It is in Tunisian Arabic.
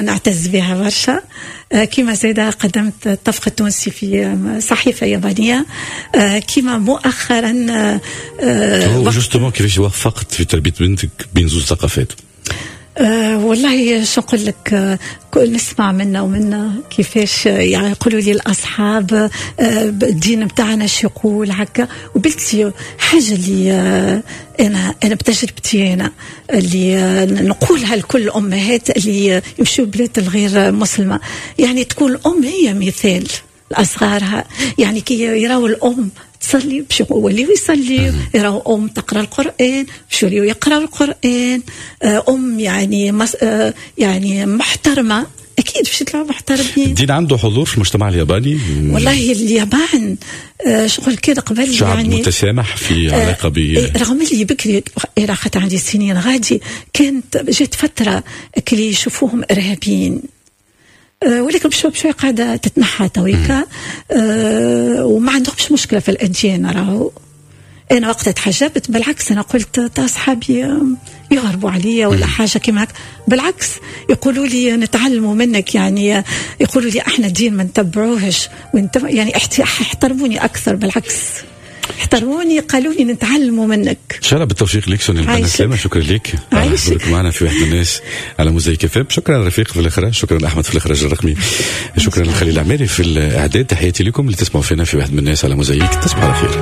نعتز بها برشا. كما زاده قدمت الطبخ التونسي في صحيفة يابانيه، كما مؤخرا هو justement كيفاش وفقت في تربيه بنتك بين زوج ثقافات؟ والله شو نقول لك، نسمع منا ومنا كيفاش، يعني يقولوا لي الاصحاب الدين بتاعنا شو يقول هكا. وبنتي حاجة اللي انا بتجربتي انا اللي نقولها لكل الامهات اللي يمشوا بلاد الغير مسلمه، يعني تكون الام هي مثال لاصغارها. يعني كي يراو الام تصلي باش يوليو يصلي، يراو ام تقرا القران باش يوليو يقراو القران، ام يعني مس يعني محترمه، اكيد باش يطلعوا محترمين. الدين عنده حضور في المجتمع الياباني؟ والله اليابان شغل كده قبل شعب يعني متسامح في علاقة ب إيه، رغم اللي بكري إيه، خاطر عندي سنين غادي، كانت جات فترة كلي يشوفوهم ارهابيين، ولكن بشوي بشوي قاعدة تتنحى تويكا، وما عندهمش مشكلة في الاديان. راهو انا وقت تحجبت بالعكس، انا قلت تا اصحابي يهربوا عليا ولا حاجة كيما هكا، بالعكس يقولوا لي نتعلموا منك، يعني يقولوا لي احنا الدين ما نتبعوهش يعني احترموني اكثر، بالعكس احترموني، قالوا لي نتعلموا منك. ان شاء الله بالتوفيق لك سونيا البنا. عايشك. سلامة، شكرا لك على عايشك. حضورك معنا في واحد من الناس على موزايك اف. شكرا رفيق في الاخراج، شكرا احمد في الاخراج الرقمي، شكرا لخليل العماري في الاعداد. تحياتي لكم اللي تسمعوا فينا في واحد من الناس على موزايك، تصبحوا على خير.